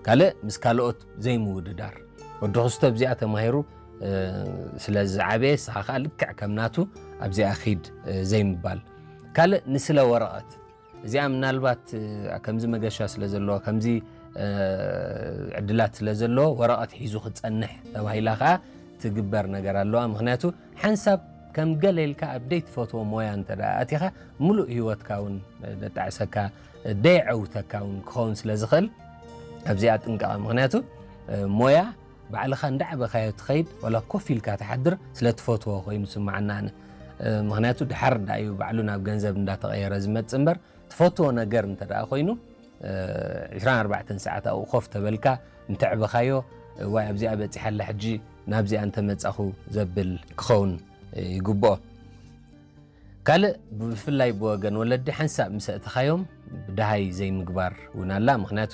ካልእ ምስ ካልኦት ዘይምውድዳር። ወዲ ክስቶ ኣብዚኣ ተማሂሩ ስለ ዝዓበየ፣ ንስኻ ከዓ ልክዕ ከም ናቱ ኣብዚኣ ኺድ ዘይምባል። ካልእ ንስለ ወረቐት፣ እዚኣ ምናልባት ከምዚ መገሻ ስለ ዘለዎ፣ ከምዚ ዕድላት ስለ ዘለዎ ወረቐት ሒዙ ክጸንሕ ተባሂላ ከዓ ትግበር ነገር ኣለዋ። ምኽንያቱ ሓንሳብ ከም ገለ ኢልካ ኣብ ደይትፈትዎ ሞያ እንተ ደኣ ኣቲኻ፣ ምሉእ ህይወትካ እውን ደጣዕሰካ፣ ደየዐውተካ እውን ክኸውን ስለ ዝኽእል፣ ኣብዚኣ ጥንቀቐ። ምኽንያቱ ሞያ ባዕልኻ እንዳዕበኻዮ ትኸይድ፣ ዋላ ኮፍ ኢልካ ትሓድር፣ ስለ ትፈትዎ ኮይኑ ስምዓና ኣነ። ምኽንያቱ ድሓር ዳኣ እዩ ባዕሉ ናብ ገንዘብ እንዳተቐየረ ዝመጽእ እምበር፣ ትፈትዎ ነገር እንተ ደኣ ኮይኑ፣ ዒስራን ኣርባዕተን ሰዓት ኣብኡ ኮፍ ተበልካ እንተዕበኻዮ፣ ዋይ ኣብዚኣ በጺሓ ኣላ ሕጂ ናብዚኣ እንተመጻኹ ዘብል ክኸውን ይግብኦ። ካልእ ብፍላይ ብወገን ወለዲ ሓንሳብ ምስ ኣእተኻዮም ብደሃይ ዘይምግባር እውን ኣላ። ምኽንያቱ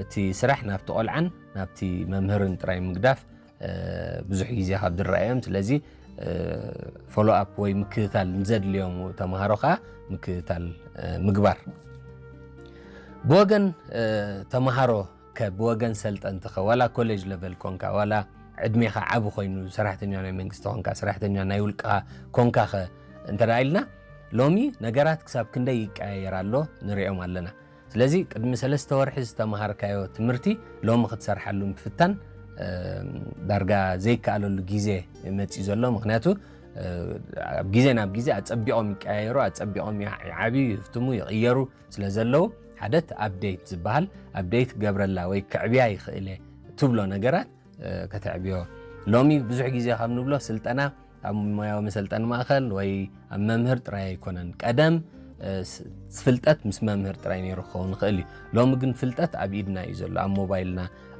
እቲ ስራሕ ናብቲ ቆልዓን ናብቲ መምህርን ጥራይ ምግዳፍ ብዙሕ ግዜ ካብ ዝረኣዮም። ስለዚ ፎሎ ኣፕ ወይ ምክትታል ንዘድልዮም ተምሃሮ ከዓ ምክትታል ምግባር። ብወገን ተምሃሮ ከ ብወገን ሰልጠንቲ ከ ዋላ ኮሌጅ ለቨል ኮንካ ዋላ ዕድሜኻ ዓቢ ኮይኑ ሰራሕተኛ ናይ መንግስቲ ኮንካ ሰራሕተኛ ናይ ውልቅኻ ኮንካ ከ እንተ ደኣ ኢልና ሎሚ ነገራት ክሳብ ክንደይ ይቀያየር ኣሎ ንሪኦም ኣለና። ስለዚ ቅድሚ ሰለስተ ወርሒ ዝተምሃርካዮ ትምህርቲ ሎሚ ክትሰርሓሉ ምፍታን ዳርጋ ዘይከኣለሉ ግዜ መፂኡ ዘሎ። ምክንያቱ ኣብ ግዜ ናብ ግዜ ኣፀቢቖም ይቀያየሩ፣ ኣፀቢቖም ይዓብዩ፣ ይፍትሙ፣ ይቕየሩ ስለ ዘለዉ ሓደ እቲ ኣፕዴት ዝበሃል ኣፕዴት ክገብረላ ወይ ክዕብያ ይኽእል እየ ትብሎ ነገራት ከተዕብዮ። ሎሚ ብዙሕ ግዜ ካብ ንብሎ ስልጠና ኣብ ሞያዊ መሰልጠኒ ማእኸል ወይ ኣብ መምህር ጥራይ ኣይኮነን። ቀደም ፍልጠት ምስ መምህር ጥራይ ነይሩ ክኸውን ይኽእል እዩ። ሎሚ ግን ፍልጠት ኣብ ኢድና እዩ ዘሎ፣ ኣብ ሞባይልና፣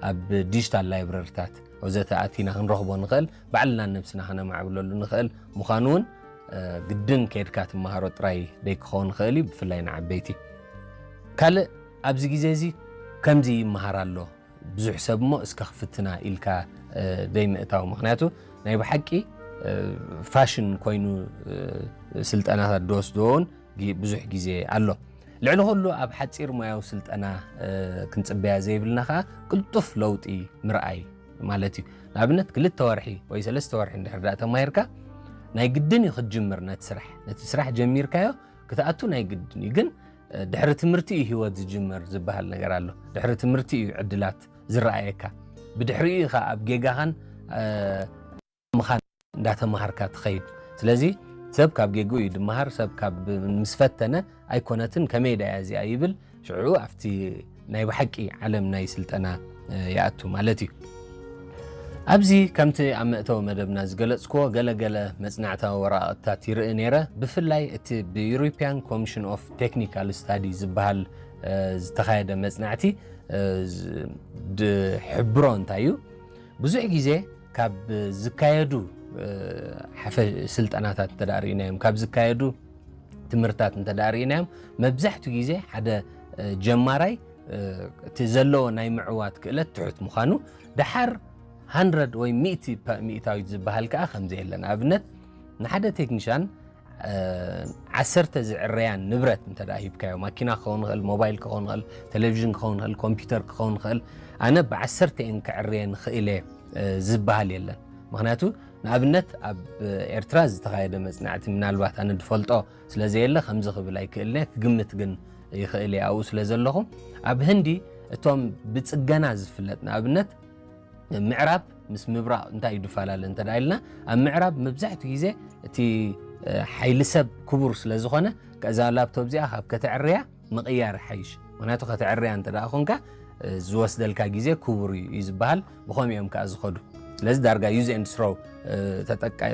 ኣብ ዲጂታል ላይብረሪታት ወዘተ ኣቲና ክንረኽቦ ንኽእል፣ ባዕልና ነብስና ከነማዕብለሉ ንኽእል ምዃኑ እውን ግድን ከይድካ ትመሃሮ ጥራይ ደይክኸውን ይኽእል እዩ፣ ብፍላይ ንዓበይቲ። ካልእ ኣብዚ ግዜ እዚ ከምዚ ይመሃር ኣሎ ብዙሕ ሰብ እሞ እስከ ክፍትና ኢልካ ደይምእታው። ምኽንያቱ ናይ ብሓቂ ፋሽን ኮይኑ ስልጠናታት ዝወስድዎ እውን ብዙሕ ግዜ ኣሎ። ልዕሊ ኩሉ ኣብ ሓፂር ሞያዊ ስልጠና ክንፅበያ ዘይብልና ከዓ ቅልጡፍ ለውጢ ምርኣይ ማለት እዩ። ንኣብነት ክልተ ወርሒ ወይ ሰለስተ ወርሒ እንድሕር ደኣ ተማሂርካ ናይ ግድን እዩ ክትጅምር ነቲ ስራሕ። ነቲ ስራሕ ጀሚርካዮ ክትኣቱ ናይ ግድን እዩ። ግን ድሕሪ ትምህርቲ እዩ ህይወት ዝጅመር ዝበሃል ነገር ኣሎ። ድሕሪ ትምህርቲ እዩ ዕድላት ዝረኣየካ። ብድሕሪኡ ኢኻ ኣብ ጌጋኻን ምኻን እንዳተማሃርካ ትኸይድ። ስለዚ ሰብ ካብ ጌግኡ እዩ ድመሃር፣ ሰብ ካብ ምስ ፈተነ ኣይኮነትን፣ ከመይ ደኣ እዚኣ ይብል፣ ሽዑ ኣብቲ ናይ ብሓቂ ዓለም ናይ ስልጠና ይኣቱ ማለት እዩ። ኣብዚ ከምቲ ኣብ መእተዊ መደብና ዝገለጽክዎ ገለ ገለ መጽናዕታዊ ወረቓቕትታት ይርኢ ነይረ። ብፍላይ እቲ ብ European Commission of Technical Study ዝበሃል ዝተኻየደ መጽናዕቲ ዝሕብሮ እንታይ እዩ? ብዙሕ ግዜ ካብ ዝካየዱ ሓፈ ስልጠናታት እንተ ርኢናዮም፣ ካብ ዝካየዱ ትምህርታት እንተ ርኢናዮም፣ መብዛሕትኡ ግዜ ሓደ ጀማራይ እቲ ዘለዎ ናይ ምዕዋት ክእለት ትሑት ምዃኑ፣ ደሓር ሃንድረድ ወይ ሚእቲ ሚእታዊት ዝበሃል ከኣ ከምዚ የለ። ንኣብነት ንሓደ ቴክኒሻን ዓሰርተ ዝዕረያን ንብረት እንተ ሂብካዮ፣ ማኪና ክኸውን ይኽእል፣ ሞባይል ክኸውን ይኽእል፣ ቴሌቪዥን ክኸውን ይኽእል፣ ኮምፒውተር ክኸውን ይኽእል፣ ኣነ ብዓሰርተ እየን ክዕርየን ክእል እየ ዝበሃል የለን። ምኽንያቱ ንኣብነት ኣብ ኤርትራ ዝተኻየደ መጽናዕቲ ምናልባት ኣነ ዝፈልጦ ስለ ዘየለ ከምዚ ክብል ኣይክእልን እየ፣ ክግምት ግን ይኽእል እየ ኣብኡ ስለ ዘለኹ። ኣብ ህንዲ እቶም ብጽገና ዝፍለጥ ንኣብነት ምዕራብ ምስ ምብራቕ እንታይ እዩ ዝፈላለ እንተ ኢልና፣ ኣብ ምዕራብ መብዛሕትኡ ግዜ እቲ ሓይሊ ሰብ ክቡር ስለ ዝኾነ፣ ከዛ ላፕቶፕ እዚኣ ካብ ከተዕርያ ምቕያር ሓይሽ። ምኽንያቱ ከተዕርያ እንተ ደኣ ኾንካ ዝወስደልካ ግዜ ክቡር እዩ እዩ ዝበሃል። ብኸምኡ እዮም ከኣ ዝኸዱ። ስለዚ ዳርጋ use and throw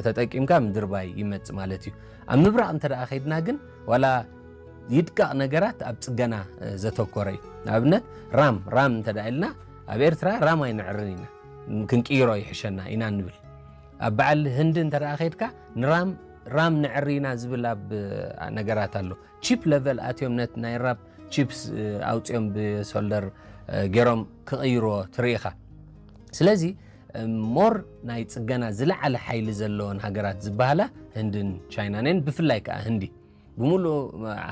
ተጠቂምካ ምድርባይ ይመጽእ ማለት እዩ። ኣብ ምብራቕ እንተ ደኣ ከይድና ግን ዋላ ይድቀቕ ነገራት ኣብ ጽገና ዘተኮረ እዩ። ንኣብነት ራም ራም እንተ ደኣ ኢልና ኣብ ኤርትራ ራም ኣይንዕርን ኢና፣ ክንቅይሮ ይሕሸና ኢና ንብል። ኣብ በዓል ህንዲ እንተ ደኣ ከይድካ ንራም ራም ንዕሪ ኢና ዝብል ኣብ ነገራት ኣሎ። ቺፕ ለቨል ኣትዮም ነቲ ናይ ራም ቺፕስ ኣውፅኦም ብሶልደር ገይሮም ክቕይርዎ ትርኢ ኢኻ። ስለዚ ሞር ናይ ፅገና ዝለዓለ ሓይሊ ዘለወን ሃገራት ዝበሃላ ህንድን ቻይናን እየን። ብፍላይ ከዓ ህንዲ ብምሉእ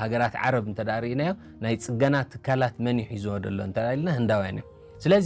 ሃገራት ዓረብ እንተ ደኣ ርኢናዮ ናይ ፅገና ትካላት መን እዩ ሒዝዎ ዘሎ እንተ ኢልና ህንዳውያን እዮም። ስለዚ